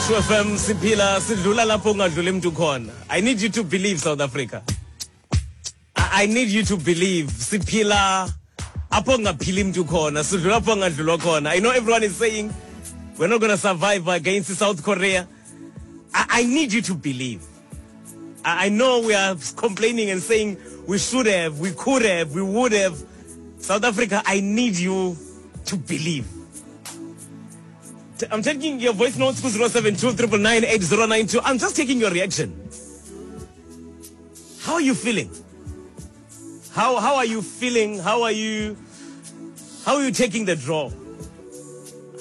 True FM siphila sidlula lapho ungadluli mntu khona. I need you to believe South Africa. I need you to believe siphila apho ungaphili mntu khona, sidlula apho ungadlulwa khona. I know everyone is saying we're not going to survive against South Korea. I need you to believe. I know we are complaining and saying we should have, we could have, we would have. South Africa, I need you to believe. I'm taking your voice notes ku 072 999 I'm just taking your reaction. How are you feeling? How how are you feeling? How are you how are you taking the draw?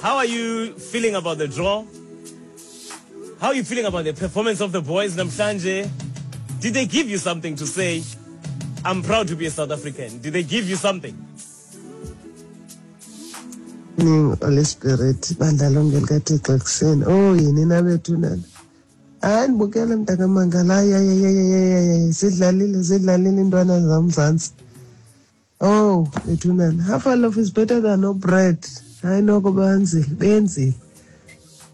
How are you feeling about the draw? How are you feeling about the performance of the boys namhlanje? Did they give you something to say? I'm proud to be a South African. Did they give you something? Morning, Holy Spirit, bandla lonke likaThixo ekuseni. Oh, yini na bethunana? Hayi ndibukele mntakamangala, hayi hayi hayi hayi hayi zidlalile zidlalile iintwana zamzantsi. Oh, bethunana, half a loaf is better than no bread. Hayi noko benzile, benzile.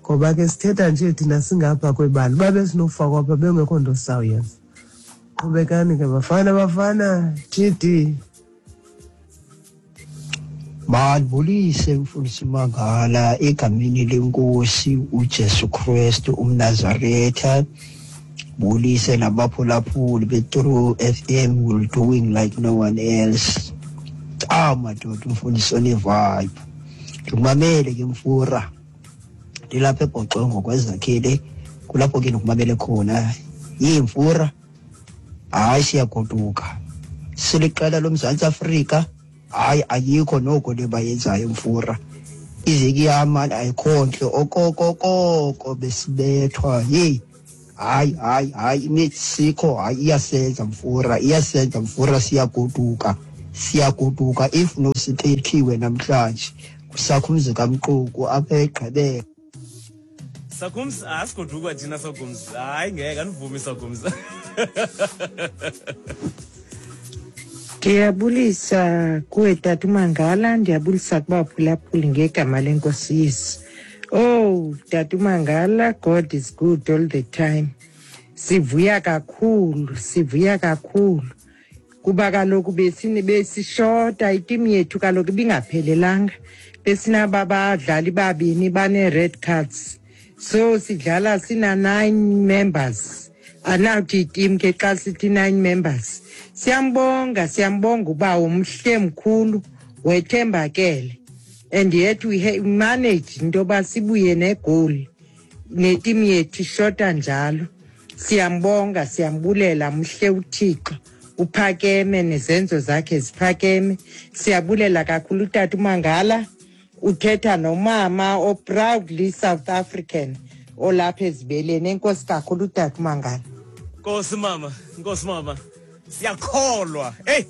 Ngoba ke sithetha nje thina singapha kwebala, uba besinofakwa apha bengekho nto sizawuyenza. Qhubekani ke bafana bafana, TD. Mandibulise mfundisi Mangala egameni lenkosi uJesu Kristu umNazaretha. Bulise nabaphulaphuli beTrue FM will doing like no one else. Ah madoda umfundisi one-vibe. Ndikumamele ke mfura. Ndilapha eBhoxongo kwezakhele kulapho ke ndikumamele khona. Yimfura. Hayi siyagoduka. Siliqela loMzantsi Afrika. Hayi ayikho noko le bayenzayo mfura. Iziki yam ayikho ntle okokokoko besibethwa yeyi hayi hayi hayi imexico hayi iyasenza mfura iyasenza mfura siyagoduka siyagoduka if no siphethiwe namhlanje kusakho umzi kamquku apha egqibeka Sakumz asigodukwa thina Sakumz. Hayi ngeke andivumi Sakumz. Ndiyabulisa kuwe tata uMangala, ndiyabulisa kubaphulaphuli ngegama lenkosi Yesu. Oh, tata uMangala, God is good all the time. Sivuya kakhulu, sivuya kakhulu. Kuba kaloku besishota itimu yethu kaloku ibingaphelelanga. Besinaba badlali babini bane-red cards. So sidlala sina-9 members. Anawuthi itimu ke xa sithi 9 members. Siyambonga, siyambonga uba umhle mkhulu wethembakele. And yet we manage into yoba sibuye negoli. Netimu yethu ishota njalo. Siyambonga, siyambulela mhle uThixo. Uphakeme nezenzo zakhe ziphakeme. Siyabulela kakhulu utata uMangala. Uthetha nomama o-proudly South African olapha ezibeleni. Enkosi kakhulu utata uMangala. Nkosi mama, Nkosi mama. Siyakholwa. Hey.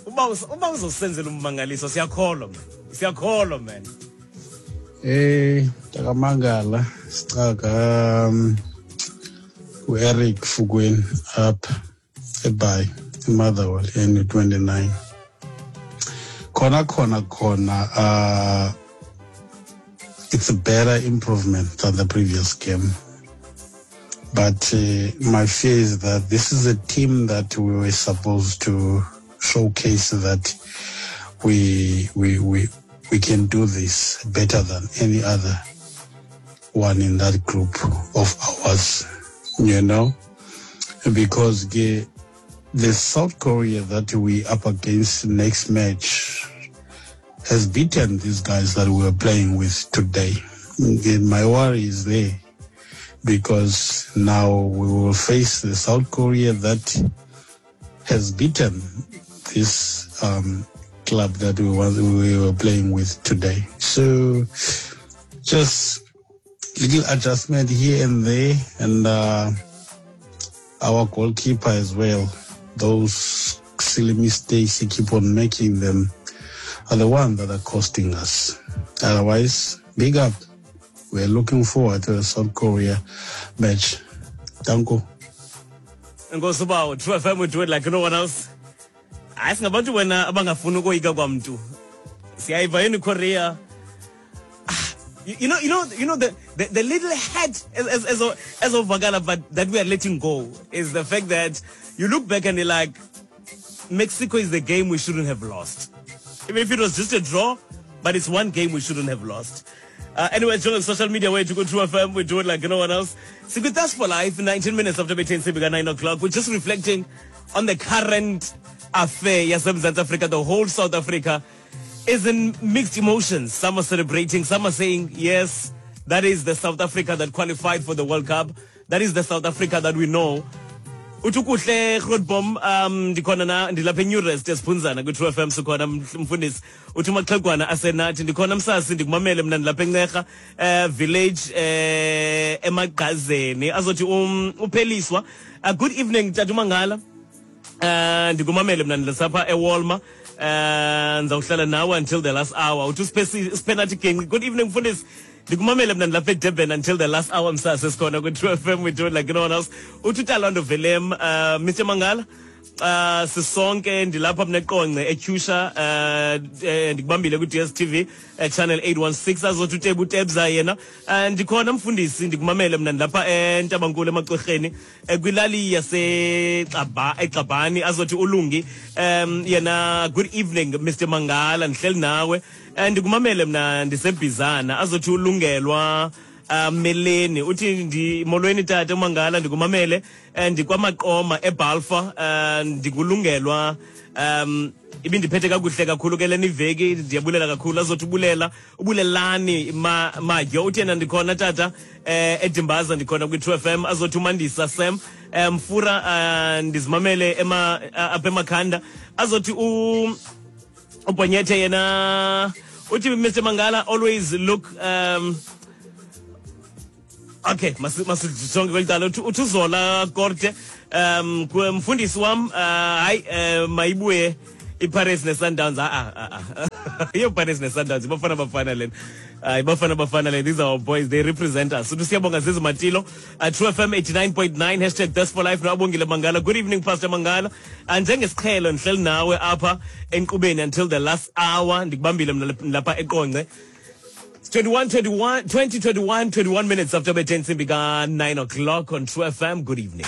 Uba uba uzosenzela ummangaliso siyakholwa man. Siyakholwa man. Eh, Takamangala, sicaka uEric Fukweni apha eBhayi, eMotherwell ene-29. Khona khona khona it's a better improvement than the previous game. But my fear is that this is a team that we were supposed to showcase that we we we we can do this better than any other one in that group of ours, you know, because the, the South Korea that we up against next match has beaten these guys that we are playing with today. And my worry is there because now we will face the South Korea that has beaten this club that we, was, we were playing with today. So just little adjustment here and there, and our goalkeeper as well. Those silly mistakes he keep on making them are the ones that are costing us. Otherwise, big up. We're looking forward to the South Korea match. Thank you. Nkosi ubawo, True FM we do it like no one else. Hayi singabantu wena abangafuni ukoyika kwamntu. Siyayiva yini Korea. You know, you know, you know the, the, the little hat as as as as ovakala, but that we are letting go is the fact that you look back and you're like, Mexico is the game we shouldn't have lost. Even if it was just a draw, but it's one game we shouldn't have lost. Uh, anyway, join social media way to go to FM. We do it like no one else. With for life, 19 minutes after between 9 o'clock. We're just reflecting on the current affair, yes, South Africa, the whole South Africa is in mixed emotions. Some are celebrating, some are saying, yes, that is the South Africa that qualified for the World Cup. That is the South Africa that we know. Uthi kuhle Grootbom um ndikhona na ndilapha eNewrest esiphunzana kwi-True FM sikhona mfundisi uthi umaxhegwana asenathi ndikhona msasi ndikumamele mna ndilapha encerha eh village eh emagqazeni azothi um upheliswa uh, good evening tata umangala Eh ndikumamele mna ndilapha eWalmer. Eh ndizawuhlala nawe until the last hour. Uthi usiphenathi genqi. Good evening mfundisi. Ndikumamele mna ndilapha eDurban until the last hour msase sikhona kwi-True FM we do it like no one else. Uthi uTalando Velem uh, Mr Mangala Uh, sisonke ndilapha mna eqonce etyhusha uh, eh, ndikubambile kwi-dstv uh, channel 816 azothi utebu utebza yena uh, ndikhona mfundisi ndikumamele mna ndilapha entabankulu emacwerheni eh, kwilali yasexabhani azothi ulungi um yena good evening Mr Mangala ndihleli nawe eh, ndikumamele mna ndisebhizana azothi ulungelwa uh, meleni uthi ndi molweni tata umangala ndikumamele eh, ndikwamaqoma ebalfa uh, ndikulungelwa um ibindiphethe kakuhle kakhulu ke lena iveki ndiyabulela kakhulu azothi ubulela ubulelani ma, madyo uthi yena ndikhona tata eh edimbaza ndikhona kwi-2 FM azothi umandisa Sam eh, mfura eh, ndizimamele ema apha emakhanda azothi u ubhonyethe yena uthi Mr Mangala always look um okay masijonge kweli cala uthi uzola korte um mfundisi wam uh, hayi uh, mayibuye iPirates neSundowns a a a iyo Pirates neSundowns ibafana bafana lena hayi bafana bafana lena these are our boys they represent us uthi siyabonga zizi matilo uh, True FM 89.9 hashtag Best for Life noabongile Mangala good evening Pastor Mangala njengesiqhelo ndihleli nawe apha enkqubeni until the last hour ndikubambile mna lapha eqonce 21 21 20 21 21 minutes after bethe intsimbi ka 9 o'clock on True FM good evening.